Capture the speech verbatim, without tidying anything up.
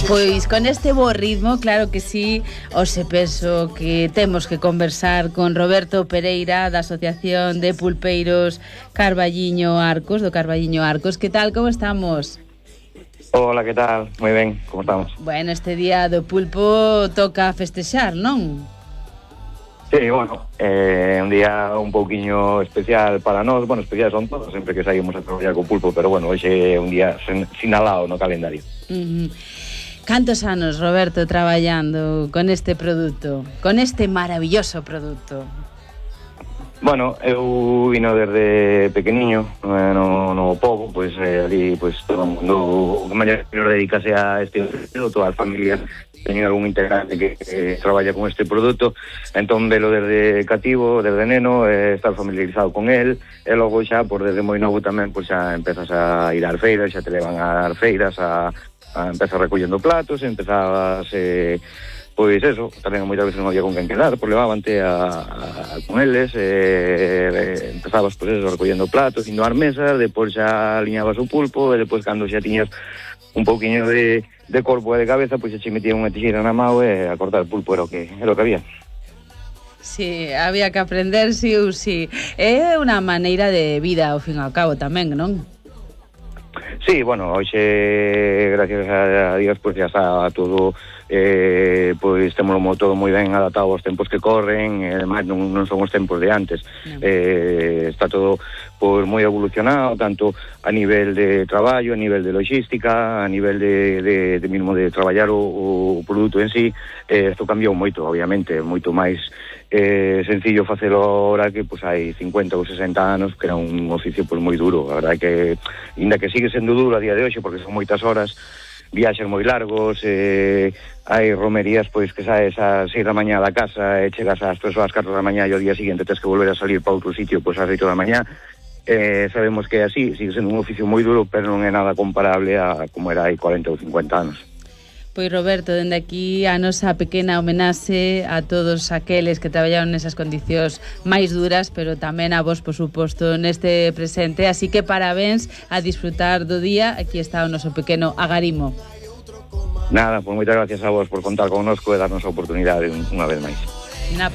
Pois con este bo ritmo, claro que sí, hoxe penso que temos que conversar con Roberto Pereira da Asociación de Pulpeiros Carballiño Arcos, do Carballiño Arcos. Que tal, como estamos? Hola, que tal? Moi ben, como estamos? Bueno, este día do pulpo toca festexar, non? Sí, bueno, é eh, un día un pouquiño especial para nós. Bueno, especial son todos, sempre que saímos a traballar co pulpo, pero bueno, hoxe é un día sinalado no calendario. Uh-huh. Cantos anos, Roberto, traballando con este produto, con este maravilloso produto? Bueno, eu vino desde pequeniño no, no pobo, pois eh, ali pois, todo o mundo o maior dedicase a este produto, toda a familia teñen algún integrante que, que traballa con este produto, entón velo desde cativo, desde neno, eh, estar familiarizado con el, e logo xa, por desde moi novo tamén, pois xa empezas a ir ás feiras, xa te levan ás feiras, a, a empezar recollendo platos, empezabas... Eh, Pois eso, tamén moitas veces non había con quen quedar, por levábante a, a, con eles, e, e empezabas pois eso, recollendo platos, indo ás mesas, depois xa aliñabas o pulpo, e depois cando xa tiñas un pouquiño de, de corpo e de cabeza, pois xa che metían unha tixeira na mão e a cortar o pulpo era o que, era o que había. Sí, había que aprender sí ou sí. É unha maneira de vida, ao fin e ao cabo, tamén, non? Sí, bueno, hoxe, gracias a Dios, pois xa está todo... Eh, pois temos todo moi ben adaptado aos tempos que corren, e ademais non, non son os tempos de antes. No. Eh, está todo pois moi evolucionado, tanto a nivel de traballo, a nivel de logística, a nivel de, de, de mismo de traballar o, o produto en sí. Eh, isto cambiou moito, obviamente, moito máis eh, sencillo facelo ahora que pois hai cincuenta ou sesenta anos, que era un oficio pois moi duro. A verdade que, inda que sigue sendo duro a día de hoxe, porque son moitas horas, viaxes moi largos, eh, hai romerías pois que saes ás seis da mañá da casa e chegas ás tres ou ás catro da mañá e o día seguinte tens que volver a salir para outro sitio pois ás oito da mañá. Eh, sabemos que é así, sigue sendo un oficio moi duro, pero non é nada comparable a como era hai cuarenta ou cincuenta anos. Pois Roberto, dende aquí a nosa pequena homenaxe a todos aqueles que traballaron nesas condicións máis duras, pero tamén a vos, por suposto, neste presente. Así que parabéns, a disfrutar do día. Aquí está o noso pequeno agarimo. Nada, pois moitas gracias a vos por contar connosco e darnos a oportunidade unha vez máis.